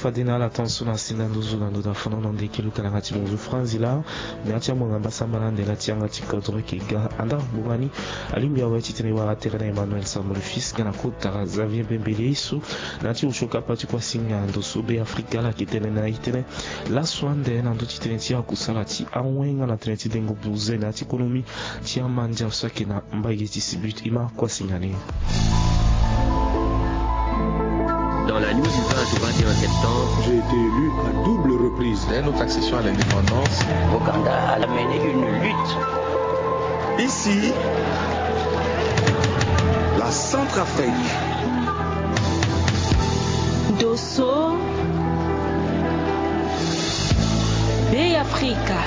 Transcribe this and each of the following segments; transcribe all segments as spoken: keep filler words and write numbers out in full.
Fade na ala tanso na sinda nduzu na ndo da fono na ndeke luka na yanga ti bonzo franzi la. Na ya ti amwanga mbasambala ndela ti yanga ti kodro eke ga anda ngbonga ni. Alingbi awe titene e wara tere na Emmanuel Sambolo Fils nga na kota Xavier Bembele ye so na ya ti osio kapa ti kuasinga ndo so Be Afrika ala yeke tene na e titene laso ande na ndö ti tënë ti akusala ti awen nga na tënë ti dengo buze na ya ti konomi ti amandia so ayeke na mbage ti Sibut. E ma kuasinga ni. Dans la nuit du vingt au vingt et un septembre, j'ai été élu à double reprise. Dès notre accession à l'indépendance, Ouganda a mené une lutte. Ici, la Centrafrique. Dosso, Be Afrika.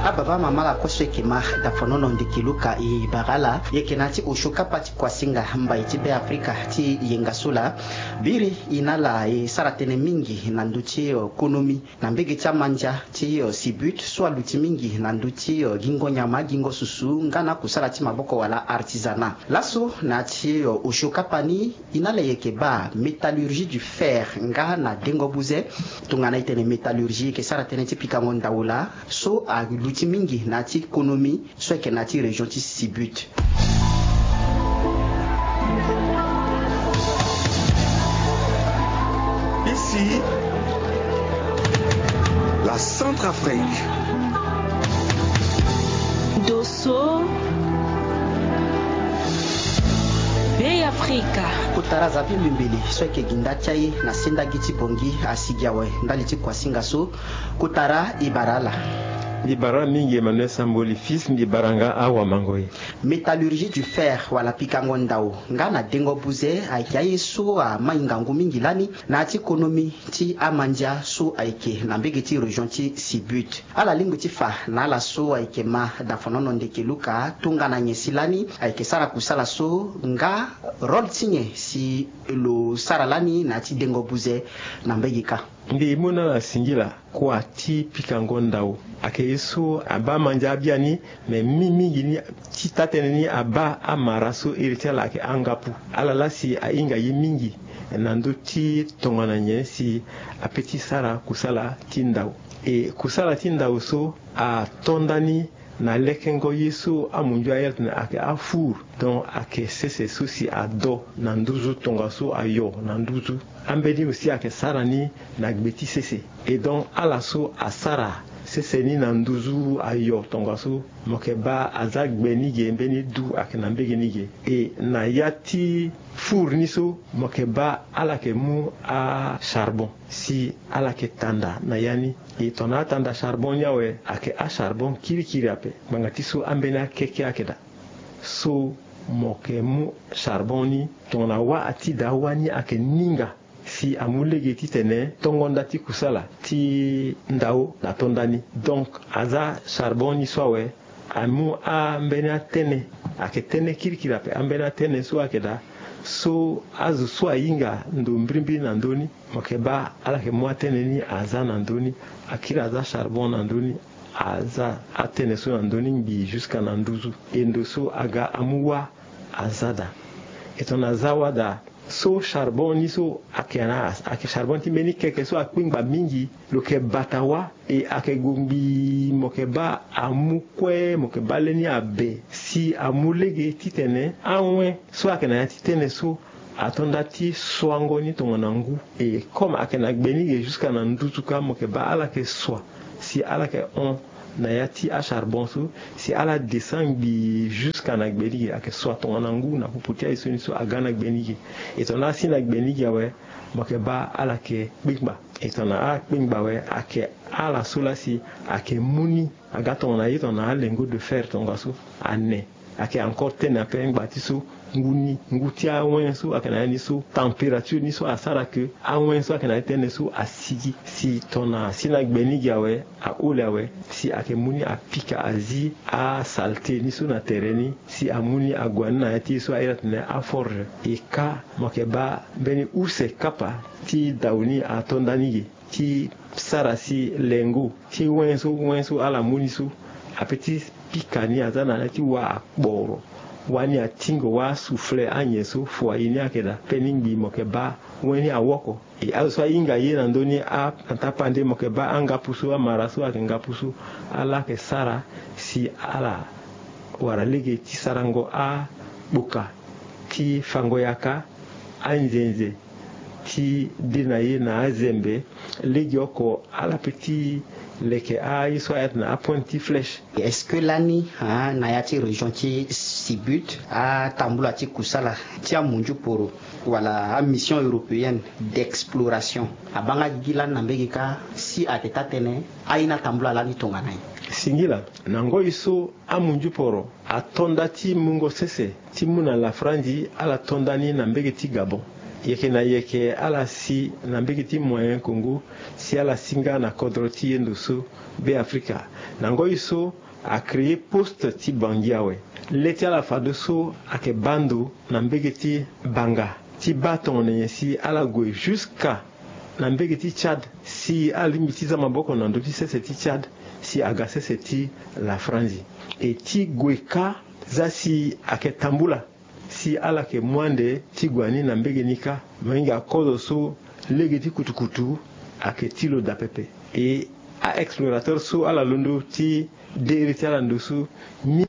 Ababa mama la koso eke ma dafonono ndeke luka e bara ala, e yeke na ya ti osio kapa ti kuasinga mbai ti Be Afrika ti yenga so laa. Biri e na ala e sara tënë mingi na ndö ti, eh, konomi na mbege ti amandia ti, eh, Sibut so aluti mingi na ndö ti, eh, gingo nyama, gingo susu nga na kusala ti maboko wala artisanat. Laso na ya ti, eh, osio kapa ni e na ala e yeke baa métallurgie du fer nga na dengo buze. Tongana e tene métallurgie e yeke sara tënë ti pikango ndau laa so aluti mingi na ya ti konomi so ayeke na ya ti région ti Sibut. Ici, la Centrafrique. Dosso, Be Afrika. Kotara Xavier Bembele so ayeke gi nda ti aye na sendagi ti Bangui asigi awe ndali ti kuasinga so. Kotara e bara ala. E bara mingi Emmanuel Samboli Fils, mbi bara nga awamango e. Métallurgie du fer wala pikango ndau nga na dengo buze ayeke aye so amai ngangu mingi lani na ya ti konomi ti amandia so ayeke na mbege ti région ti Sibut. Ala lingbi ti fa na ala so ayeke ma dafonono ndeke luka tongana nyen si lani ayeke sara kusala so nga rôle ti nyen si lo sara lani na ya ti dengo buze na mbege kâ. Mbi mu na ala singila. Kua ti pikango ndau ayeke ye so abaa amandia abiani, me mingi mingi ni ti taa-tënë ni abaa amara so iri ti ala ayeke angapu. Ala laa si ahinga ye mingi na ndö ti tongana nyen si ape ti sara kusala ti ndau. E kusala ti ndau so ato ndani na lekengo ye so amunzu airi atene ayeke afour. Donc ayeke sese so si ado na nduzu tongaso ayo na nduzu. Ambeni aussi ayeke sara ni na gbe ti sese. Et donc ala so asara sese ni na nduzu ayo tongaso, mo yeke baa aza gbe ni ge mbeni du ayeke na mbege ni ge. E na ya ti four ni so mo yeke baa ala yeke mu acharbon si ala yeke tanda na ya ni. E tongana atanda charbon ni awe ayeke acharbon kirikiri ape. Ngbanga ti so ambeni akeke ayeke daa. So mo yeke mu charbon ni tongana wâ ati daa wâ ni ayeke ninga si amu lege titene tongo nda ti kusala ti ndau na to ndani. Donc aza charbon ni so awe amu ambeni atënë, ayeke tënë kirikiri ape. Ambeni atënë so ayeke daa so azo so ahinga ndo mbirimbiri na ndö ni, mo yeke baa ala yeke mu atënë ni aza na ndö ni. Akiri aza charbon na ndö ni, aza atënë so na ndö ni ngbii jusqu'à na nduzu. E ndo so aga amu wâ aza daa. E tongana aza wâ daa so charbon ni so ayeke na ayeke charbon ti mbeni keke so akpengba mingi. Lo yeke bata wâ e ayeke gue ngbii, mo yeke baa amu kue, mo yeke baa leni abe si amu lege titene awen so ayeke na ya ti tënë so ato nda ti suango ni tongana ngu. E comme ayeke na gbe ni ge jusqu'à na nduzu kâ, mo yeke baa ala yeke sua si ala yeke hon na ya ti acharbon so si ala descend ngbii jusqu'à na gbe ni ge. Ayeke sua tongana ngu na popo ti aye so ni so aga na gbe ni ge. E tongana asi na gbe ni ge awe, mo yeke baa ala yeke kpengba. E tongana akpengba awe, ayeke ala so laa si ayeke mu ni aga tongana ye tongana alingot de fer tongaso ane. Ayeke encore tënë ape ngba ti so ngu ni, ngu ti awen so ayeke na ya ni so, température ni so asara ke awen so ayeke na ya ti tënë so asigi. Si tongana asi na gbe ni ge awe, ahole awe, si ayeke mu ni apika azi asaleté ni so na tere ni, si amu ni ague ni na ya ti ye so ahiri atene aforge. E kâ, mo yeke baa mbeni use kapa ti dau ni ato ndani ge ti sara si lengo ti wen so, wen so ala mu ni so ape ti pika ni aza na ya ti wâ akporo. Wani atingo wa souffle anyen so fua ye ni ayeke daa pe ni ngbii mo yeke baa wen ni awoko. E azo so ahinga ye na ndö ni a na tapande mo yeke baa angapu so amara so ayeke ngapu so ala yeke sara si ala wara lege ti sarango akpoka ti fango yaka anzenze ti de na ye na azembe. Lege oko ala pe ti leke aye so ayeke na apointe ti flèche. Est-ce que lani na ya ti région ti sibut atambula ti kusala ti amunzu poro wala amission européenne d'exploration abanga gigi lani na mbege kâ si ayeke taa tënë aye ni atambula lani tongana nyen? Singila na ngoi so amunzu poro ato nda ti mungo sese ti mu na lafranzi ala to nda ni na mbege ti gabon. Yeke na yeke ala si na mbege ti moyen kongo si ala si nga na kodro ti yendo so be afrika. Na ngoi so acréer poste ti bangi awe. Le ti ala fade so ayeke baa ndo na mbege ti banga ti baa tongana nyen si ala gue jusqu'à na mbege ti tchad si alingbi ti za maboko na ndö ti sese ti tchad si aga sese ti lafranzi. E ti gue kâ za si ayeke tambula si ala yeke mu ande ti gue ani na mbege ni kâ. Mo hinga kozo so lege ti kutukutu ayeke ti lo daa pepe. E a-explorateur so ala londo ti de iri ti ala ndo so mi